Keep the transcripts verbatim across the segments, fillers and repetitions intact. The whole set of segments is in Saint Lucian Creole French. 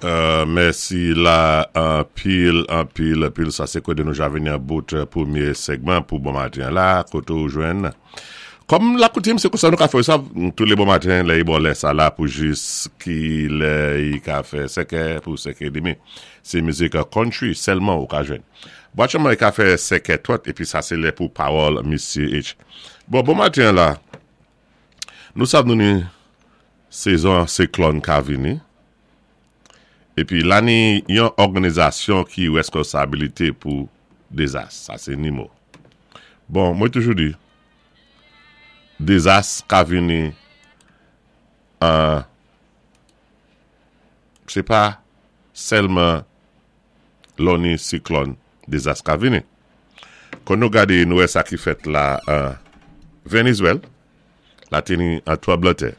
Euh, mèsi la anpil, anpil, anpil. Sa sé koté nou ja vini an bout pwémyé segman pou bon maten la, koté ou jwenn. Kòm la koutim, sé konsa nou ka fè sa, tou lé bon maten, lè bon lè sa la pou jis ki lè i ka fè senkè pou senkè édmi. Sé mizik country sèlman ou ka jwenn. Bon, aktyèlman i ka fè senkè twant, épi sa sé lè pou pawòl Misye H. Bon, bon maten la, nou sav nou ni sezon siklòn ka vini. Épi la ni yon òganizasyon ki weskonsabilité pou dézas, sa sé NIMO. Bon, mwen toujou di, dézas ka vini an, sé pa sèlman lò ni siklòn dézas ka vini. Kon nou gadé nou wè sa ki fèt la an Vénézwèl, la té ni an tranblanntè.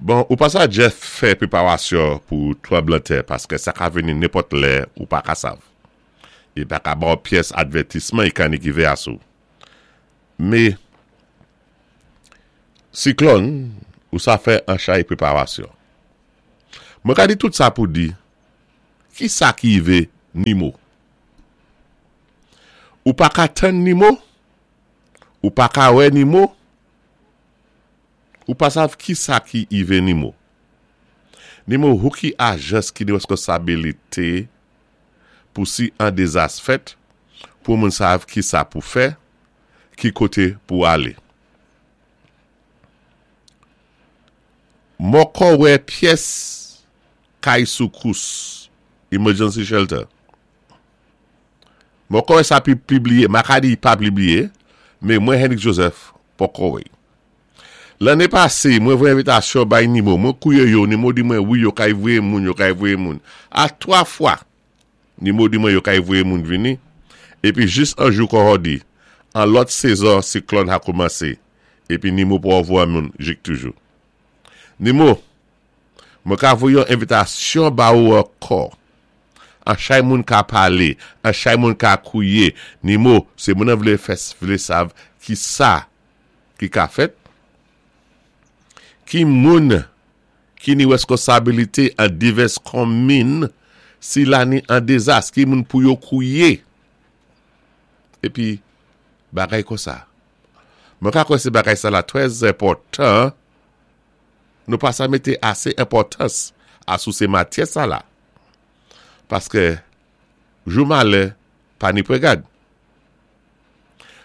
Bon, ou pa sa Jeff fè préparasyon pou tranblanntè paské sa ka vini nenpòt lè ou pa ka sav. I pa ka ba ou pyès advètisman i ka ni ki vé asou. Mé, siklòn, ou sa fè an chay préparasyon. Mwen ka di tout sa pou di, ki sa ki vé NIMO? Ou pa ka tann NIMO? Ou pa ka wè NIMO? Ou pa sav ki sa ki ivé NIMO? NIMO hou ki ajans ki ni weskonsabilité pou si an dézas fèt, pou moun sav ki sa pou fè, ki koté pou alé. Moko wè pyès kay soukous, emergency shelter. Moko wè sa pi pibliyé, ma ka di pa pibliyé, mé mwen Henrik Joseph poko wè. Lanné pasé, mwen voyé envitasyon bay NIMO, mwen kouwé yo, NIMO di mwen wi yo kay voyé moun, yo kay voyé moun. A twa fwa, NIMO di mwen yo kay voyé moun vini, épi jis an jou kon di, an lòt sezon siklòn a koumansé, épi NIMO pou voyé moun jik toujou. NIMO, mwen ka voyé yon envitasyon ba ou ankò. An chay moun ka palé, an chay moun ka kouwé. NIMO, sé moun an vlé fè vlé sav ki sa ki ka fèt. Ki moun ki ni weskonsabilité an divès konmin si la ni an dézas, ki moun pou yo kouwé. Épi, bagay konsa. Mwen ka kwè sé bagay sa la trè enpòtan, nou pa sa mété asé enpòtans asou sé matyè sa la. Paské jou malè pa ni pwégad.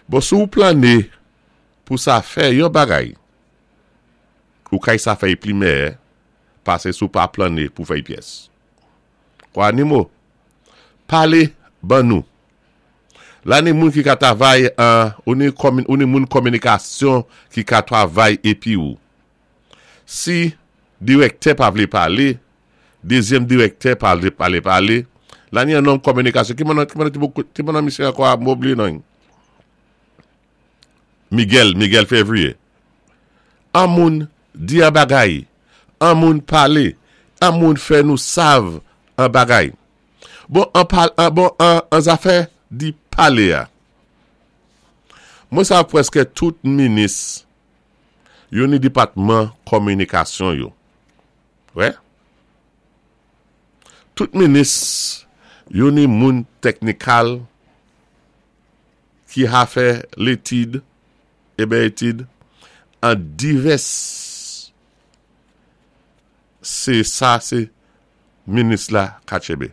Bon, si ou planné pou sa fè yon bagay, ou kay sa fè pli meyè, pasé si ou pa planné pou fè pyès. Kwa NIMO, palé ban nou. La ni moun ki ka travay an, ou ni, komin, ou ni moun kominikasyon ki ka travay épi ou. Si direktè pa vlé palé, dézyèm direktè pa vlé palé palé, la ni an nonm kominikasyon, ki moun ki moun ki moun misye ankò mwen blié non? Miguel, Miguel Février. An moun di an bagay, an moun palé, an moun fè nou sav an bagay. Bon, an pal, an, bon, an, an zafè di palé a. Mwen sav pwèské tout minis yo ni dépatman kominikasyon yo. Wè? Tout minis yo ni moun teknikal ki ha fè létid, ébè étid, an divès sé sa sé minis la ka tchébé.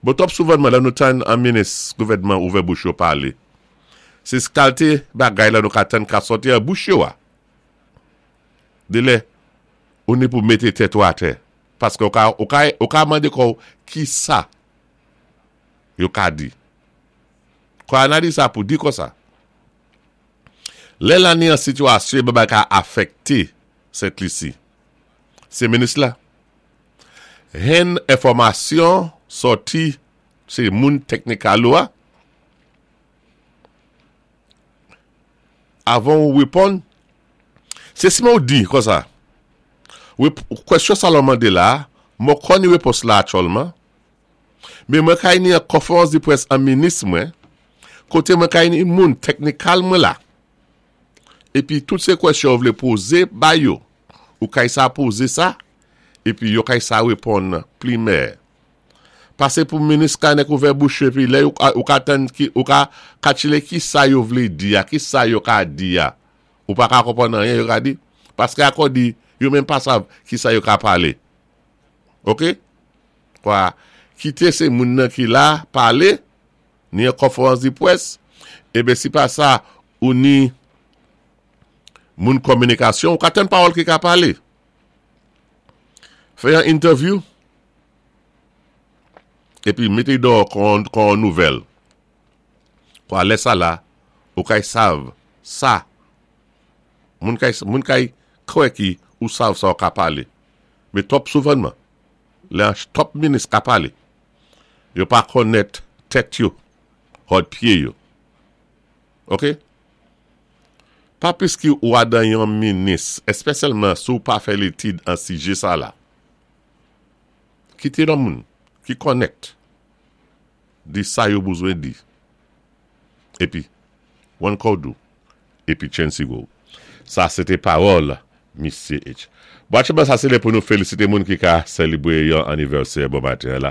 Bon, twòp souvanman la nou tann an minis gouvèdman ouvè bouch yo palé. Sé kalité bagay la nou ka tann ka sòti an bouch yo a. Dé lè, ou ni pou mété tèt ou atè. Paské ou ka, ou ka, ou ka mandé kò ki sa yo ka di. Kwa analiz sa pou di konsa. Lè la ni an sitiyasyon bagay ka afèkté Sent Lisi. Sé minis la. Hen enfòmasyon sòti sé moun teknikal ou a. Avan ou réponn, sé si ou di konsa. Kwèsyon sa lò mandé la, mwen konn répons la aktyèlman, mé mwen kay ni an konférans di près an minis mwen, koté mwen kay ni moun teknikal mwen la. Épi tout sé kwèsyon ou vlé pozé ba yo, ou kay sa pozé sa, Épi yo kay sa wéponn pli mèyè. Pasé pou minis ka nèk ouvè bouch épi lè ou ka tann ki, ou ka katchilé ki sa yo vlé di a, ki sa yo ka di a. Ou pa ka konpwann anyen yo ka di. Paské akò di, yo menm pa sav ki sa yo ka palé. Ok? Kwa, kité sé moun nan ki la palé, ni an konfwérans di pwès, ébé si pa sa, ou ni moun kominikasyon, ou ka tann pawòl ki ka palé. Fè yon interview, épi mété dò kon, kon nouvèl. Kwa lè sa la, ou kay sav, sa, moun kay, moun kay kwè ki ou sav sa ou ka palé. Mé twòp souvanman, lè twòp minis ka palé, yo pa konnèt tèt yo, hòd pyé yo. Ok? Pa piski ou adan yon minis, èspésyalman si ou pa fè létid an sijé sa la. Kité nan moun ki konnèt di sa yo bezwen di. Épi, one kodou, épi chen sigo. Sa sé té pawòl Misyé H. Bon, aktyèlman sa sé lè pou nou félisité moun ki ka sélébwé yon anivèsè bon maten la.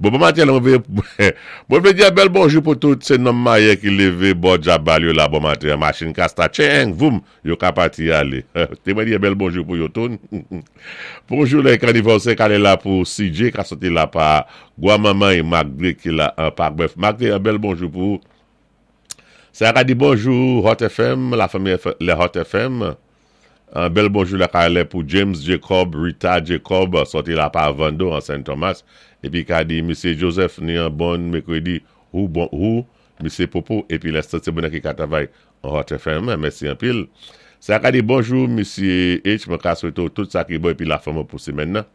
Bon, bon maten la, mwen vlé, mwen vlé di bèl bonjou pou tout sé nonm mayé ki lévé bò djabal yo la bon maten. Machin ka start, tcheng, voum, yo ka pati alé. Té mwen di bèl bonjou pou yo toun. Bonjou lè anivèsè ka la pou C J ka soti la pa Gwa Manman é Magdé ki la an Parc. Magdé, yon bèl bonjou pou sa ka di bonjou Hot F M, la fanmi le Hot F M. Un bèl bonjou la ka pou James Jacob, Rita Jacob, soti la pa Vando an Saint Thomas. Épi ka di Misyé Joseph ni yon bon mèkwédi ou bon ou Misyé Popo épi l'instant sé bon ki ka travay an Hot F M. Mèsi anpil. Sa ka di bonjou Misyé H, mwen ka swété tout sa ki bon épi la fanmi pou sémèn nan.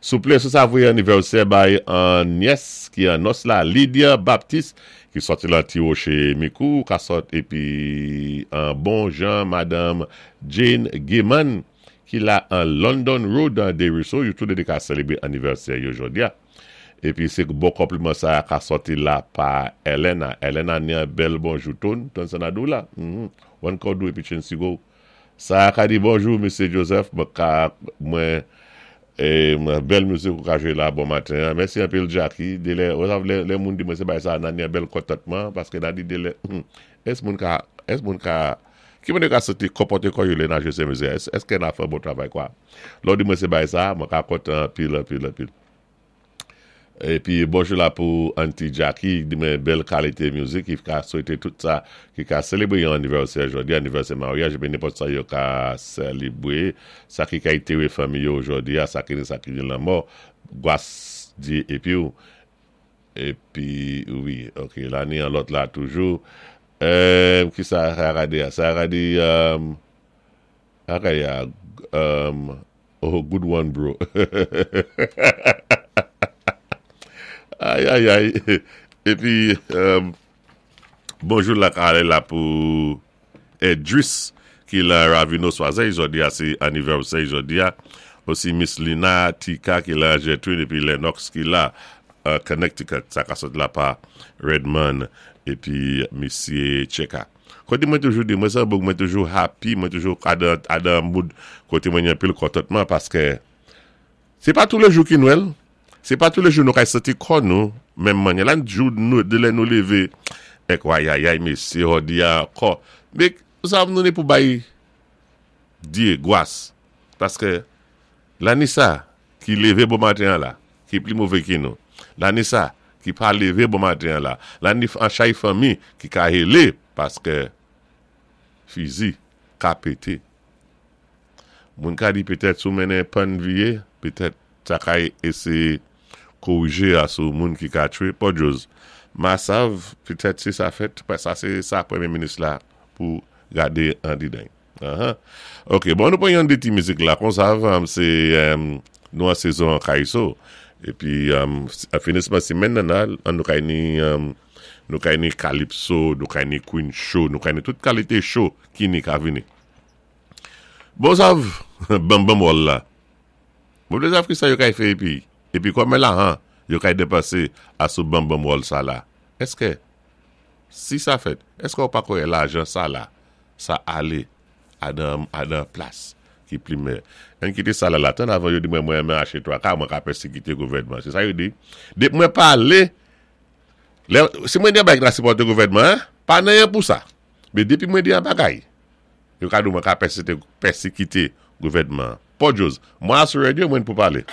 Souplé, sou sa voyé anivèsè bay an nyès ki an nòs la, Lydia Baptiste, ki soti la Ti Rocher Mikou, ka sot épi an bon jan Madame Jane Gaiman, ki la an London Road an Desruisseaux, yo tou ka sélébwé anivèsè yo jodi a. Épi sé bon konpliman sa ka soti la pa Elena. Elena ni yon bèl bonjou ton, ton sanadou la. Mm -hmm. One kodou épi chen sigo. Sa ka di bonjou Misyé Joseph, mwen ka mwen é bèl mizik ou ka jwé la bon maten. Mèsi anpil Jackie. Dé lè, lè, lè moun di mwen sé bay sa nan yon bèl kontantman paské nan di dé lè ès moun ka ès moun ka ki moun ka soti konpòté kò yo lè nan jwé sé mizik ès èské nan fè bon travay kwa. Lò di mwen sé bay sa, mwen ka kontan anpil anpil anpil. Épi bonjou la pou Auntie Jackie, di mwen bèl kalité mizik, ki ka swété tout sa, ki ka sélébwé yon anivèsè jodi, anivèsè maryaj, épi nenpòt sa yo ka sélébwé, sa ki ka éntéré fanmi yo jodi, sa ki sa ki lanmò, gwas di épi ou, épi wi, ok, la ni an lòt la toujou, euh, ki sa a di, sa a di, um, ok, yeah, um, oh, good one, bro. Ay, ay, ay. Épi, euh, bonjou la ka la pou Edris, ki la Ravino Soisey, jodi a, sé anivèsè jodi a. Osi Miss Lina Tika ki la Gertrude, épi Lennox ki la uh, Connecticut, sa ka sot la pa Redman, épi Misyé Cheka. Koté mwen toujou di, mwen sa mwen toujou happy, mwen toujou adan, adan mood, koté mwen yon pil kontantman, paské sé pa tou lé jou ki Nwèl, sé pa tou lé jou nou kay santi kò nou, menm mannyè. La jou nou, dé lè nou lévé, èk wayayay, mésyé, jodi a, ankò. Mé, sa nou né pou bay Dyé, gwas. Paské, lanni sa, ki lévé bon maten la, ki pli mové ki nou. Lanni sa, ki pa lévé bon maten la. Lanni an chay fanmi, ki ka hélé, paské fizi ka pété. Moun ka di petèt sou mennen pann viyé, petèt sa ka éséyé korijé a sou moun ki ka twé. Podjòz. Ma sav, petèt si sa fèt, sa sé sa pwémyé minis la pou gadé an didan. Uh -huh. Ok, bon, nou pran yon dé ti mizik la, kon sa, um, sé um, nou an sézon kaiso. Épi, um, finisman simenn nan an nou kay ni um, nou kay ni Calypso, nou kay ni Queen Show, nou kay ni tout kalité show ki ni ka vini. Bon sav, bam bam wòl la. Bon vlé sav ki sa yo kay fè épi, épi konbyen lajan, yo kay dépansé a sou bam bam wòl sa la. Èské, si sa fèt, èské ou pa kwè lajan sa la, sa alé adan, adan plas Ki pli meyè. Ann kité sa la la tan avan yo di mwen mwen mwen aché twa ka, mwen ka pèsékité gouvèdman. Sé sa yo di. Dépi mwen palé, lè, si mwen di an bagay ki la sipòté gouvèdman, pa nanyen pou sa. Mé dépi mwen di an bagay, yo ka di mwen ka pèsékité gouvèdman. Pòdjòz, mwen sou radyo mwen pou palé.